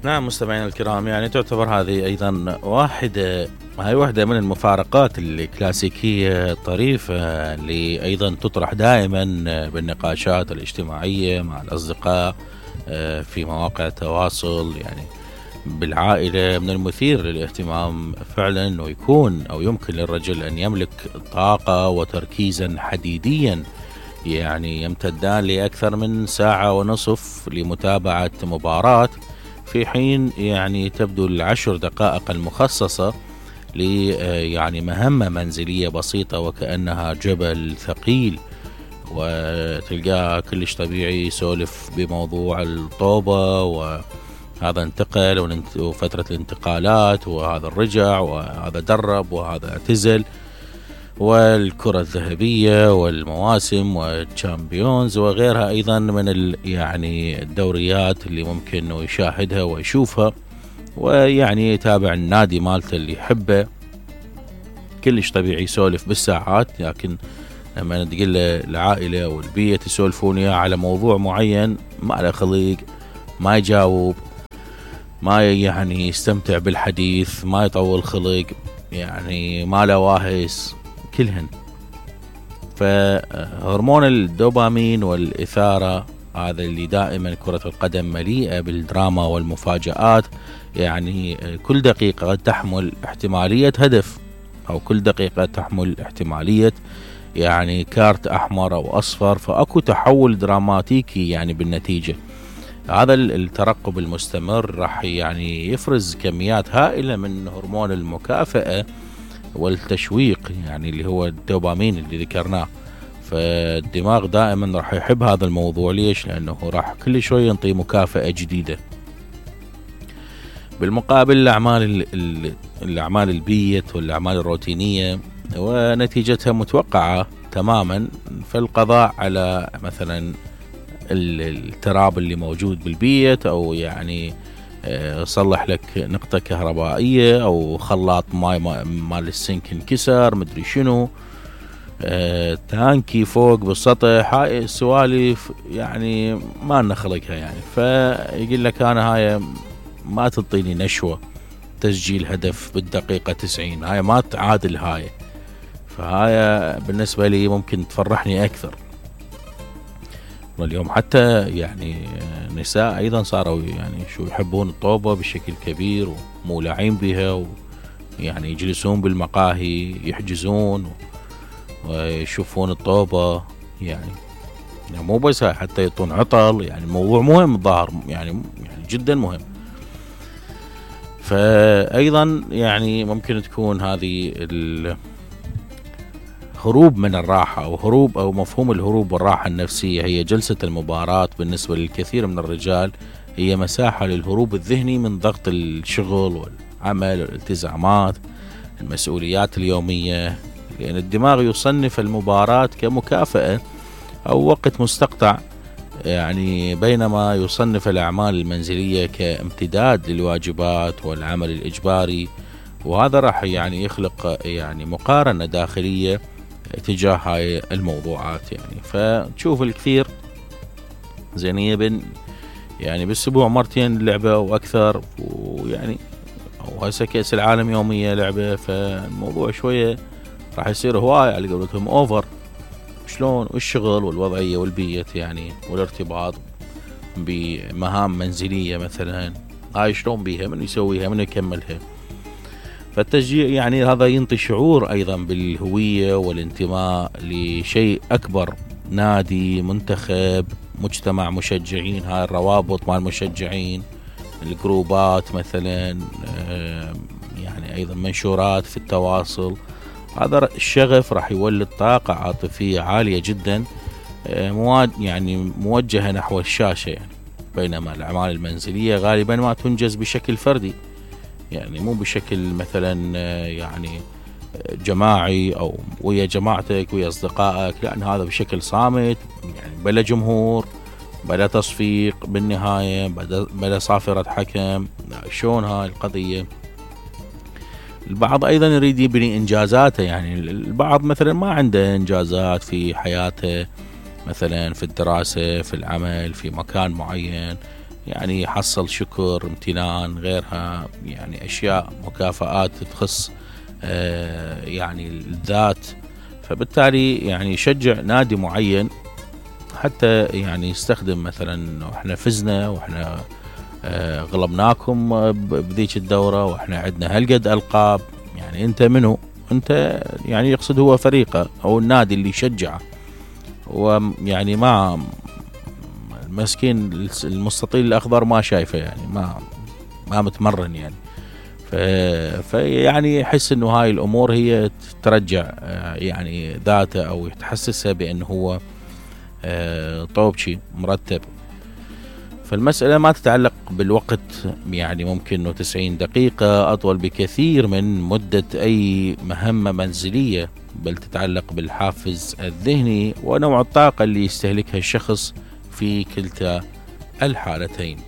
نعم مستمعينا الكرام، يعني تعتبر هذه أيضا واحدة من المفارقات الكلاسيكية الطريفة اللي أيضا تطرح دائما بالنقاشات الاجتماعية مع الأصدقاء في مواقع التواصل. يعني بالعائلة من المثير للاهتمام فعلا أنه يكون أو يمكن للرجل أن يملك طاقة وتركيزا حديديا يعني يمتدان لأكثر من ساعة ونصف لمتابعة مباراة، في حين يعني تبدو العشر دقائق المخصصة يعني مهمة منزلية بسيطة وكأنها جبل ثقيل. وتلقاه كلش طبيعي يسولف بموضوع الطوبة، وهذا انتقل وفترة الانتقالات، وهذا الرجع، وهذا درب، وهذا اعتزل، والكرة الذهبية والمواسم والشامبيونز وغيرها أيضا من يعني الدوريات اللي ممكن أنه يشاهدها ويشوفها، ويعني يتابع النادي مالته اللي يحبه. كلش طبيعي يسولف بالساعات، لكن لما تقول العائلة والبيئة تسولفون إياه على موضوع معين ما له خليق، ما يجاوب، ما يعني يستمتع بالحديث، ما يطول خلق، يعني ما له واهس كلهن. فهرمون الدوبامين والإثارة هذا اللي دائما كرة القدم مليئة بالدراما والمفاجآت، يعني كل دقيقة تحمل احتمالية هدف، أو كل دقيقة تحمل احتمالية يعني كارت أحمر أو أصفر، فأكو تحول دراماتيكي يعني بالنتيجة. هذا الترقب المستمر راح يعني يفرز كميات هائلة من هرمون المكافأة والتشويق، يعني اللي هو الدوبامين اللي ذكرناه. فالدماغ دائما راح يحب هذا الموضوع. ليش؟ لأنه راح كل شوي ينطي مكافأة جديدة. بالمقابل الأعمال البيئة والأعمال الروتينية ونتيجتها متوقعة تماما، فالقضاء على مثلا التراب اللي موجود بالبيت، أو يعني صلح لك نقطة كهربائية، أو خلاط ماي مال السنك انكسر، مدري شنو، تانكي فوق بالسطح، هاي السوالف يعني ما نخلقها يعني. فيقول لك أنا هاي ما تنطيني نشوة، تسجيل هدف بالدقيقة 90 هاي ما تعادل هاي، فهاي بالنسبة لي ممكن تفرحني أكثر. واليوم حتى يعني نساء أيضا صاروا يعني شو يحبون الطوبة بشكل كبير ومولعين بها، ويعني يجلسون بالمقاهي يحجزون ويشوفون الطوبة، يعني مو بس حتى يطون عطل، يعني الموضوع مهم ظاهر، يعني جدا مهم. فأيضا يعني ممكن تكون هذه هروب من الراحة، أو هروب، أو مفهوم الهروب والراحة النفسية، هي جلسة المباراة بالنسبة للكثير من الرجال هي مساحة للهروب الذهني من ضغط الشغل والعمل والالتزامات المسؤوليات اليومية، لأن الدماغ يصنف المباراة كمكافأة أو وقت مستقطع، يعني بينما يصنف الأعمال المنزلية كامتداد للواجبات والعمل الإجباري. وهذا راح يعني يخلق يعني مقارنة داخلية تجاه هاي الموضوعات. يعني فتشوف الكثير زين يعني بالأسبوع مرتين لعبة وأكثر، ويعني أو هسه كأس العالم يومية لعبة، فالموضوع شوية راح يصير هواية على قولتهم أوفر. شلون؟ والشغل والوضعية والبيئة يعني والارتباط بمهام منزلية مثلا، هاي شلون بيها، من يسويها، من يكملها. فالتشجيع يعني هذا ينطي شعور أيضا بالهوية والانتماء لشيء أكبر، نادي، منتخب، مجتمع مشجعين، هاي الروابط مع المشجعين، الجروبات مثلا، يعني أيضا منشورات في التواصل. هذا الشغف راح يولد طاقة عاطفية عالية جدا يعني موجهة نحو الشاشة يعني. بينما الأعمال المنزلية غالبا ما تنجز بشكل فردي، يعني مو بشكل مثلا يعني جماعي أو ويا جماعتك ويا أصدقائك، لأن هذا بشكل صامت، يعني بلا جمهور، بلا تصفيق بالنهاية، بلا صافرة حكم. شلون هاي القضية؟ البعض أيضا يريد يبني إنجازاته، يعني البعض مثلا ما عنده إنجازات في حياته، مثلا في الدراسة، في العمل، في مكان معين، يعني يحصل شكر، امتنان، غيرها يعني أشياء مكافآت تخص يعني الذات. فبالتالي يعني يشجع نادي معين حتى يعني يستخدم مثلا واحنا فزنا واحنا غلبناكم بذيك الدورة واحنا عندنا هالقد ألقاب، يعني انت منو؟ انت يعني يقصد هو فريقه او النادي اللي يشجعه، ويعني ما المسكين المستطيل الأخضر ما شايفه، يعني ما متمرن يعني. فيعني يحس انه هاي الامور هي ترجع يعني ذاته او تحسسه بانه هو طوبشي مرتب. فالمسألة ما تتعلق بالوقت، يعني ممكن انه 90 دقيقة اطول بكثير من مدة اي مهمة منزلية، بل تتعلق بالحافز الذهني ونوع الطاقة اللي يستهلكها الشخص في كلتا الحالتين.